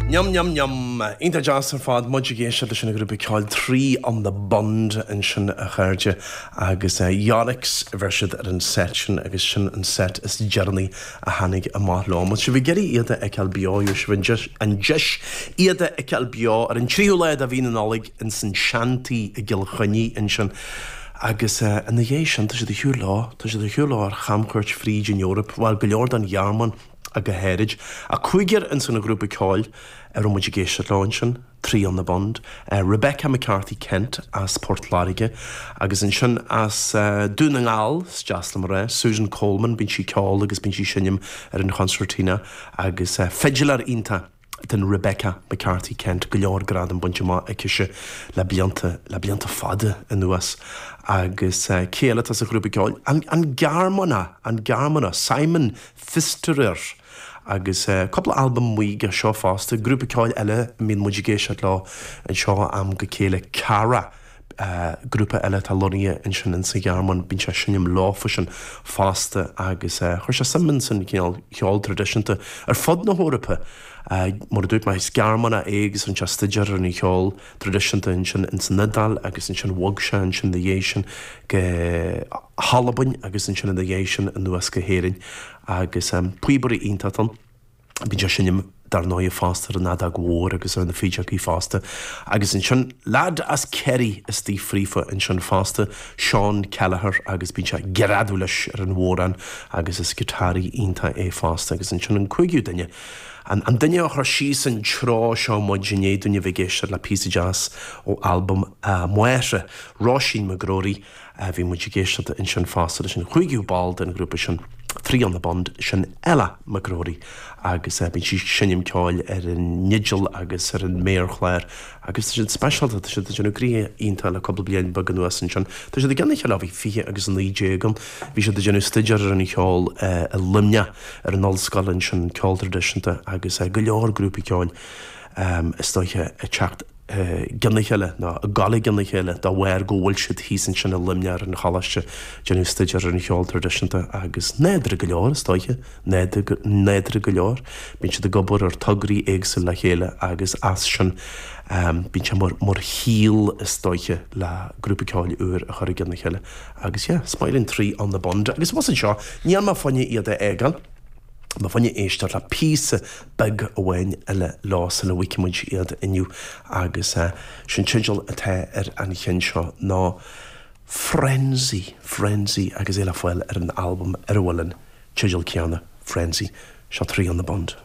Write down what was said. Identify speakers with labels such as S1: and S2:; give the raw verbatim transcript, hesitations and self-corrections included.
S1: Yum yum yum Iontach deas ar fad muid ag éisteacht leis an grúpa ceoil Three on the Bund ansin a chairde agus uh, Yonix a bheir siad ar an set sin agus sin an set is deireanaí a tháinig amach leo. Má sibh ag iarraidh iad a fheiceáil beo sibh an deis iad a fheiceáil beo ar an tríú lá de mhí na Nollag in san Seantigh i gCill Chainnigh ansin. Agus uh, ina dhiaidh sin tá siad ar shiúl leo tá siad ar shiúl leo ar chamchuairt fríd an Eoraip, bhfuil go leor den Ghearmáin a go háirid. A cúigear in san grúpa ceoil ar muid ag éisteacht leo ansin, Three on the Bund, uh, Rebecca McCarthy Kent as Port Láirge, agus ansin as uh, Dún na nGall deas liom rá, Susan Coleman bíonn sí ceol agus bíonn sí ag seinm ar an concertina agus uh, fiddler iontach den Rebecca McCarthy Kent go leor gradam bainte amach aici le blianta le blianta fada anuas agus uh, cé eile sa ghrúpa ceoil an, an Gearmánach an Gearmánach Simon Pfisterer agus uh, cúpla albam aige seo fosta grúpa ceoil eile mbíonn muid ag éisteacht leo anseo am go chéile Cara. Uh, grúpa eile tá lonnaithe ansin in sa Ghearmáin bíonn sé seinm leofa sin fosta agus uh, chuir sé suim san cineál ceol traidisiúnta ar fud na hEorpa. Uh, mar dúirt mé is Gearmánach é agus rinne sé staidéar ar an cheol traidisiúnta ansin in san Iodáil agus ansin bhog sé ansin ina dhiaidh sin go hAlbain agus ansin ina dhiaidh sin anuas go hÉirinn agus um, píobairí iontach ann. Bíonn sé seinm dar ndóigh fosta an fheadóg mhór agus ar na fídeogaí fosta. Agus ansin lad as Kerry istigh fríofa ansin fosta Sean Kelleher agus bíonn sé greadadh leis ar an bhodhrán agus is giotáraí iontach é fosta agus ansin an cúigiú duine. An, an duine a chuir síos an treo seo muid inné duine bheith ag éisteacht le píosa deas ó albam uh, Máire Róisín McGrory uh, bhí muid ag éisteacht ansin fosta leis an chúigiú ball den ghrúpa sin. Three on the Bund sin Ella McGrory agus uh, bíonn sí seinm ceoil ar an fhidil agus ar an méarchlár agus sin speisialta tá siad déanamh gnoithe iontach le cúpla bliain beag anuas ansin. Tá siad ag gana cheile bhí fiche agus an naoi déag bhí siad déanamh staidéar ar an cheol uh, i Luimneach ar an ollscoil ansin ceol traidisiúnta agus uh, go leor grúpaí ceoil um, is dóiche ag teacht gona chéile ná ag gabháil gona chéile dá bharr go bhfuil siad thíos ansin i Luimneach ar an choláiste déanamh staidéar ar an cheol traidisiúnta agus nádúrtha go leor is dóiche nádúrtha go leor, bíonn siad ag obair ar tograí éagsúla le chéile agus as sin um, bíonn sé mar mar shíol is dóiche le grúpa ceoil úr a chur gona chéile agus yeah, Smiling Three on the Bund agus was seo níl mé fá choinne iad a fhágáil. Má fá choinne éisteacht le píosa beag amháin eile leo sula bhfágfaidh muid iad inniu agus uh, sin teideal atá ar an cheann seo ná Frenzy, Frenzy agus é le fáil ar an albam ar a bhfuil an teideal céanna Frenzy seo Three on the Bund.